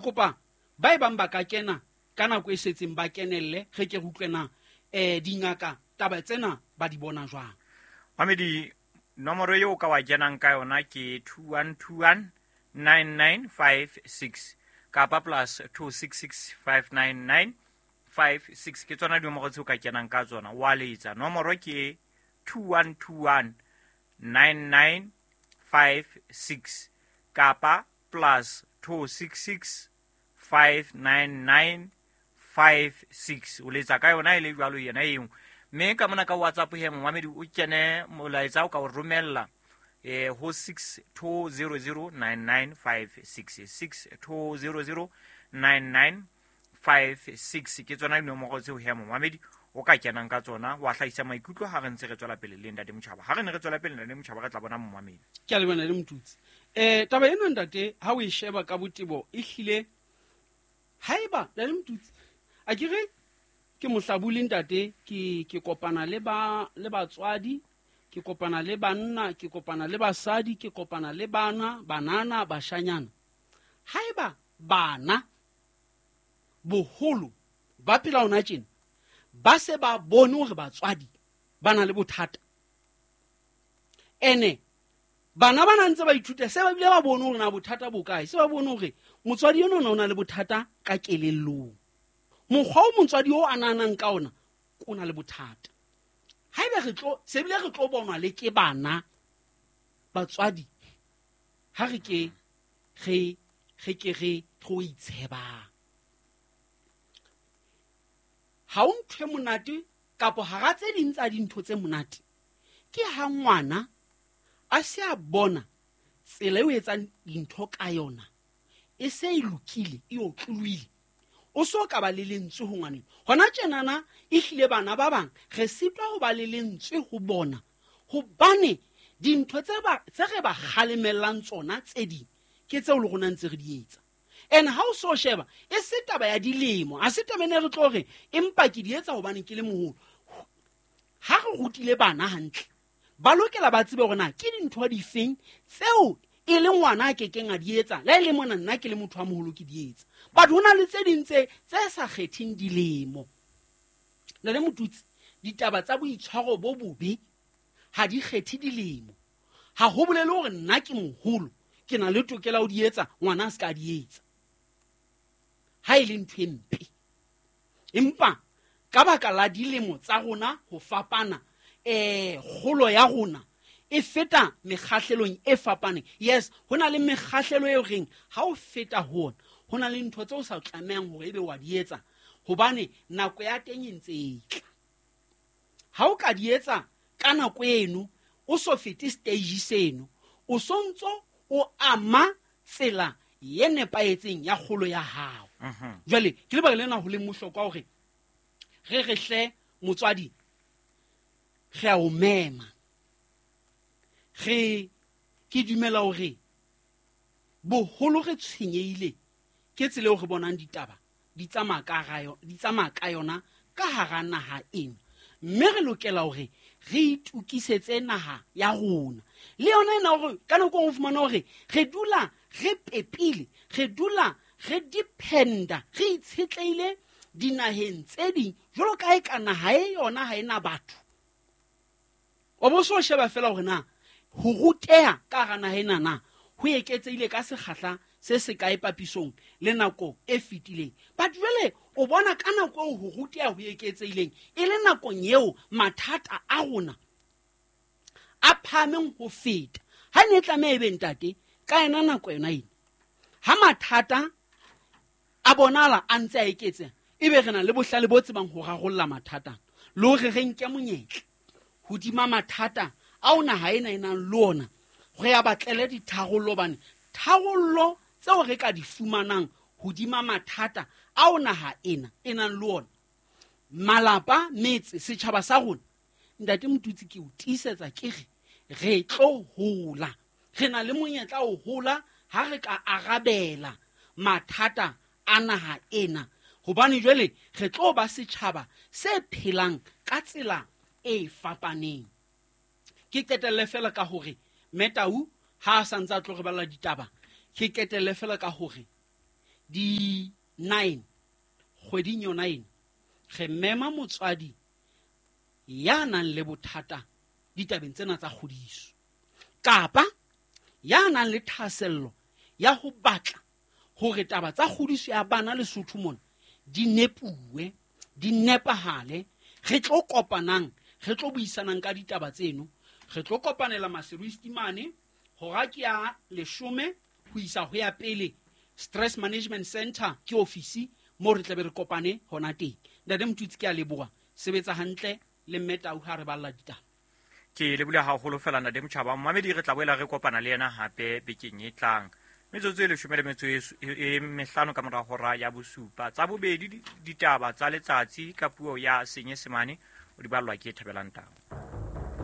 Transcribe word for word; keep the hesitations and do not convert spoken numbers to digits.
Kopa ba e bang ba ka kena ka nako e setseng ba kenelle, re ke re utlwe na um dingaka taba tsena ba di bona jwang. Mamedi, nomoro eo ka wa kenang ka yona ke two one two one nine nine five six kapa plus two six six five nine nine five six. Ke tsona dinomoro tseo ka kenang ka tsona. Wa letsa nomoro ke two one two one nine nine five six kapa plus two six six five nine nine five six. O letsa ka yona e le jwalo yena eo. Mme ka mona ka WhatsApp he momamedi o kene molaetsa o ka o romella eh ho six two zero zero nine nine five six, six two zero zero nine nine five six. Ke tsona dinomoro tseo he momamedi o ka kenang ka tsona wa hlahisa maikutlo ha re ntse re tswela pele le Ntate Motjhaba. Ha re ne re tswela pele Ntate Motjhaba re tla bona momamedi. Ke a leboha le Motutsi. Eh taba ena ntate ha o e sheba ka botebo e hlile haeba Ntate Motutsi a ke re ke mohlabuli ntate, ke ke kopana le ba le batswadi, ke kopana le banna, ke kopana le basadi, ke kopana le bana, banana, bashanyana. Haeba bana boholo ba phela hona tjena ba se ba bone hore batswadi ba na le bothata, ene bana ba ntse ba ithuta se ba bile ba bone hore na bothata bo kae, se ba bone hore motswadi eno o na le bothata ka kelellong, mokgwa o motswadi o a nahanang ka ona o na le bothata. Haeba re tlo se bile re tlo bonwa le ke bana batswadi, ha re ke re re ke re tlo itshebang. Ha o ntho e monate kapo hara tse ding tsa dintho tse monate ke ha ngwana a se a bona tsela eo etsang dintho ka yona e se e lokile, e otlolohile, o so ka ba le lentswe ho ngwaneng. Hona tjenana e hlile bana ba bang re sitwa ho ba le lentswe ho bona hobane dintho tse ba tse re ba kgalemellang tsona tse ding ke tseo le rona ntse re di etsa. And ha o so sheba e se taba ya dilemo, a se taba ene re tlo re empa ke di etsa hobane ke le moholo. Ha re rutile bana hantle ba lokela ba tsebe hore na ke dintho difeng tseo e le ngwana a kekeng a di etsa, le ha e le mona nna ke le motho a moholo ke di etsa. But ho na le tse ding tse tse sa kgetheng dilemo. Le le Motutsi, ditaba tsa boitshwaro bo bobe ha di kgethe dilemo. Ha ho bolele hore nna ke moholo ke na le tokelo ya ho di etsa, ngwana a se ka di etsa ha e le ntho e mpe. Empa ka baka la dilemo tsa rona ho fapana, eh kgolo ya rona e feta mekgahlelong e fapaneng. Yes, ho na le mekgahlelo e reng ha o feta ho ona ho na le ntho tseo o sa tlamehang hore ebe wa di etsa hobane nako ya teng e ntse e tla. Ha o ka di etsa ka nako eno o so fete stage seno, o so ntso o ama tsela ye nepahetseng ya kgolo ya hao. Jwale ke lebaka lena ho leng bohlokwa hore re re hle motswadi re a o mema. Re ke dumela hore boholo re tshwenyehile ke tsela eo re bonang ditaba di tsamaya ka hara yo-, di tsamaya ka yona ka hara naha ena, mme re lokela hore re itukisetse naha ya rona. Le yona ena hore ka nako e nngwe o fumana hore re dula re pepile, re dula re dependa, re itshetlehile dinaheng tse ding jwalo ka e ka naha e yona ha ena batho. O bo so sheba fela hore na ho ruteha ka hara naha ena na ho eketsehile ka sekgahla se se kae papisong le nako e fetileng. But jwale o bona ka nako eo ho ruteha ho eketsehileng e le nakong eo mathata a rona a phahameng ho feta. Ha ne e tlameha e be ntate ka yona nako yona ena, ha mathata a bonahala a ntse a eketseha, ebe re na le bohlale bo tsebang ho rarolla mathata le hore re nke monyetla hodima mathata ao naha ena e nang le ona, re a batlele ditharollo, hobane tharollo tseo re ka di fumanang hodima mathata ao naha ena e nang le ona, malapa, metse, setjhaba sa rona, Ntate Motutsi ke o tiisetsa ke re re tlo hola, re na le monyetla ho hola ha re ka arabela mathata a naha ena, hobane jwale re tlo ba setjhaba se phelang ka tsela e fapaneng. Ke qetelle fela ka hore Metau ha a sa ntse a tlo re balla ditaba, ke qetelle fela ka hore di nine kgweding yona ena, re mema motswadi ya nang le bothata ditabeng tsena tsa kgodiso, kapa ya nang le thahasello ya ho batla hore taba tsa kgodiso ya bana Lesotho mona di nepuwe, di nepahale. Re tlo kopanang, re tlo buisanang ka ditaba tseno. Re tlo kopanela Maseru East mane hora ke ya leshome ho isa ho ya pele Stress Management Center ke ofisi moo re tlabe re kopane hona teng. Ntate Motutsi, ke a leboha, sebetsa hantle le mme Tau ha re balla ditaba. Ke lebohile haholo fela ntate Motjhaba. Momamedi re tla boela re kopana le yena hape bekeng e tlang. Metsotso e leshome le metso e e mehlano ka mora hora ya bosupa. Tsa bobedi ditaba tsa letsatsi ka puo ya Senyesemane o di ballwa ke Thabelang Tau.